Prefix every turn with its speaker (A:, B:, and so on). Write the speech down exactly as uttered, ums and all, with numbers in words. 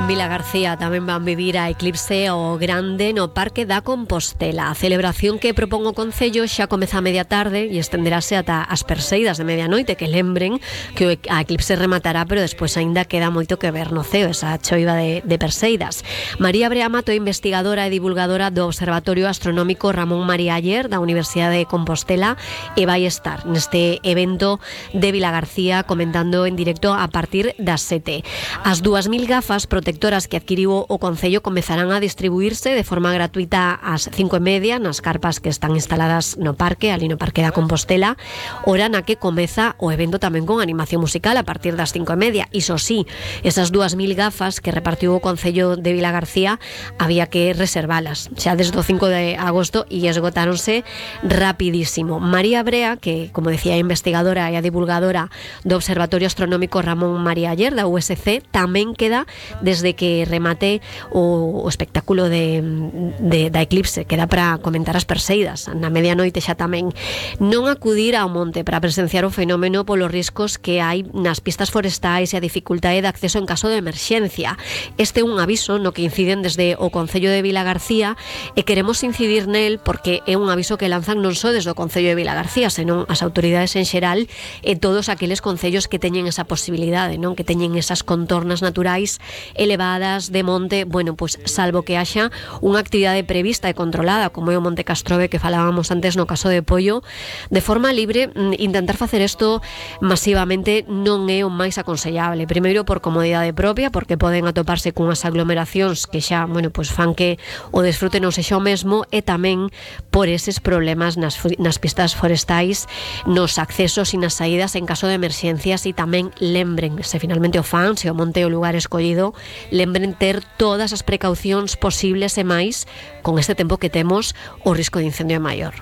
A: En Vilagarcía tamén van vivir a eclipse o grande no Parque da Compostela. A celebración que propón o Concello xa comeza a media tarde e estenderase ata as perseidas de medianoite, que lembren que a eclipse rematará, pero despois aínda queda moito que ver no ceo, esa choiva de, de perseidas. María Brea Mato é investigadora e divulgadora do Observatorio Astronómico Ramón María Aller da Universidade de Compostela e vai estar neste evento de Vilagarcía comentando en directo a partir das sete. As dúas mil gafas protectoras que adquiriu o Concello comezarán a distribuirse de forma gratuita ás cinco e media nas carpas que están instaladas no parque, ali no Parque da Compostela, hora na que comeza o evento tamén con animación musical a partir das cinco e media. Iso sí, esas dúas mil gafas que repartiu o Concello de Vilagarcía había que reservalas xa desde o cinco de agosto e esgotáronse rapidísimo. María Brea, que como decía é investigadora e a divulgadora do Observatorio Astronómico Ramón María Aller da U S C, tamén queda desde que remate o, o espectáculo de, de, da eclipse, queda para comentar as perseidas na medianoite xa tamén. Non acudir ao monte para presenciar o fenómeno polos riscos que hai nas pistas forestais e a dificultade de acceso en caso de emerxencia. Este é un aviso no que inciden desde o Concello de Vilagarcía e queremos incidir nel porque é un aviso que lanzan non só desde o Concello de Vilagarcía, senón as autoridades en xeral e todos aqueles concellos que teñen esa posibilidade, non, que teñen esas contornas naturais elevadas de monte, bueno, pois pues, salvo que haxa unha actividade prevista e controlada, como é o Monte Castrove que falábamos antes no caso de Pollo, de forma libre, intentar facer isto masivamente non é o máis aconsellable. Primeiro por comodidade propia, porque poden atoparse cunhas aglomeracións que xa, bueno, pois fan que o desfrute non sexa o mesmo, e tamén por eses problemas nas, nas pistas forestais, nos accesos e nas saídas en caso de emerxencias. E tamén lembren, se finalmente o fan, se o monte é o lugar escollido, lembren ter todas as precaucións posibles e máis con este tempo que temos, o risco de incendio é maior.